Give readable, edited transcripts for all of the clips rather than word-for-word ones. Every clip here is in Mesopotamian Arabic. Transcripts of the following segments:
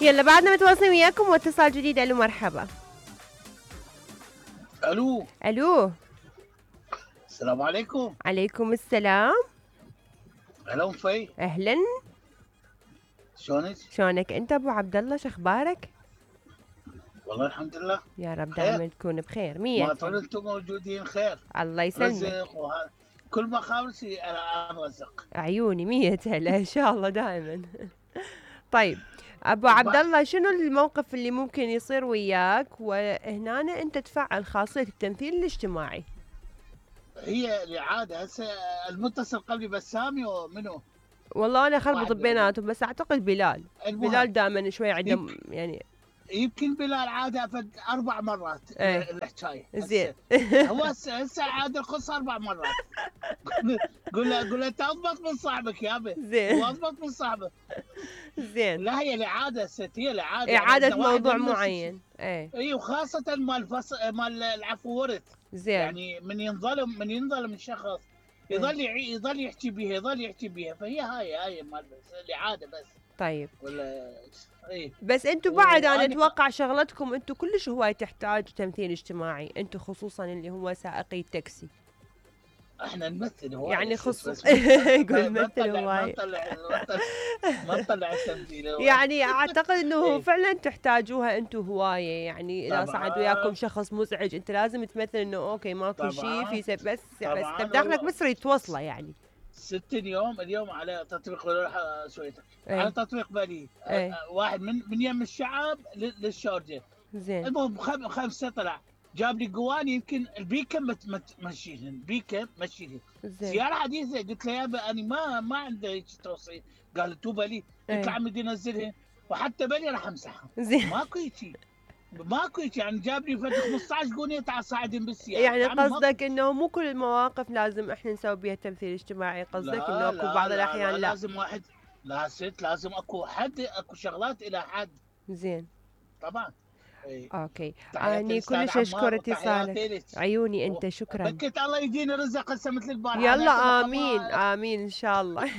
يلا بعدنا متواصلين وياكم واتصال جديد. الو مرحبا. الو الو السلام عليكم. عليكم السلام. هلا ام في. اهلا. شلونك؟ شلونك انت ابو عبد الله؟ شخبارك؟ والله الحمد لله. يا رب خير. دائما تكون بخير. مية ما طول انتم موجودين خير. الله يسلمك. رزق كل ما خابرتي انا ارزق. عيوني 100 هلا ان شاء الله دائما. طيب ابو عبد الله، شنو الموقف اللي ممكن يصير وياك وهنا انت تفعل خاصية التمثيل الاجتماعي؟ هي العاده هسه المتصل قبلي بسامي ومنو؟ والله انا خربط بيناتهم، بس اعتقد بلال. بلال دائما شوي عنده يعني يمكن بلال عاده 4 مرات الحكايه. زين. هو هسه عاده القصه 4 مرات. قول له انت اضبط من صاحبك يابا. زين. واضبط من صاحبك. زين. لا هي العاده ست، هي العاده اعاده موضوع معين. اي وخاصه مال العفو ورث. زين. يعني من ينظلم الشخص يظل يحكي بيها فهي هاي مال الاعاده بس. طيب ولا بس انتم بعد انا اتوقع شغلتكم انتم كلش هواي تحتاج تمثيل اجتماعي، انتم خصوصا اللي هو سائقي التاكسي. احنا نمثل هواي يعني يقول نمثل هواي. ما نطلع التمثيل. يعني اعتقد انه فعلا تحتاجوها انتم هوايه، يعني اذا صعد وياكم شخص مزعج انت لازم تمثل انه اوكي ماكو شيء في بس بداخلك بس تريد توصله. يعني 60 يوم اليوم على تطبيق شويه على تطبيق بالي. واحد من يم الشعب للشارجه. زين. المهم 5 طلع جاب لي قواني يمكن البيكم مشيهن سياره حديثه. قلت له يابا انا ما عندي هيك توصيل. قال تو بالي. قلت له عمي بدي انزلها وحتى بالي راح امسحها. زين. ماكو هيك يعني جاب لي 15 قونيه تعال صاعدين بالسياره. يعني قصدك انه مو كل المواقف لازم احنا نسوي بها تمثيل اجتماعي، قصدك انه اكو بعض الاحيان لا لازم واحد لازم اكو حد، اكو شغلات الى حد. زين طبعا. اوكي اني كلش اشكر اتصالك. عيوني انت شكرا. بكيت الله يدينا رزق هسه مثل البارحه. يلا امين امين ان شاء الله.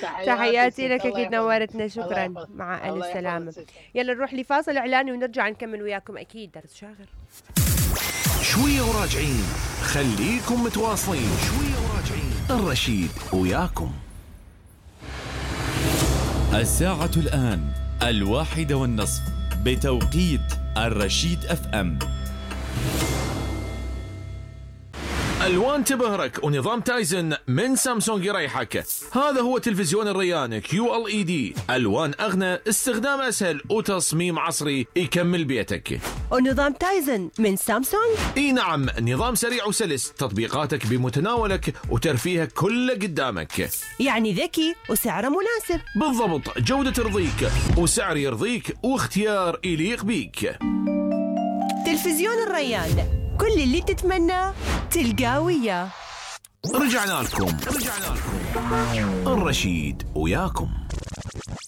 تحياتي لك اكيد نورتنا. شكرا مع الف سلامه. يلا نروح لفاصل اعلاني ونرجع نكمل وياكم اكيد درس شاغر. شويه وراجعين، خليكم متواصلين. شويه وراجعين، الرشيد وياكم. الساعة الآن 1:30 بتوقيت الرشيد FM. الوان تبهرك ونظام تايزن من سامسونج يريحك. هذا هو تلفزيون الريان QLED، الوان اغنى، استخدام اسهل وتصميم عصري يكمل بيتك. ونظام تايزن من سامسونج؟ اي نعم، نظام سريع وسلس، تطبيقاتك بمتناولك وترفيهك كله قدامك. يعني ذكي وسعره مناسب. بالضبط، جودة ترضيك وسعر يرضيك واختيار يليق بيك. تلفزيون الريان، كل اللي تتمناه تلقاه وياه. رجعنا لكم الرشيد وياكم.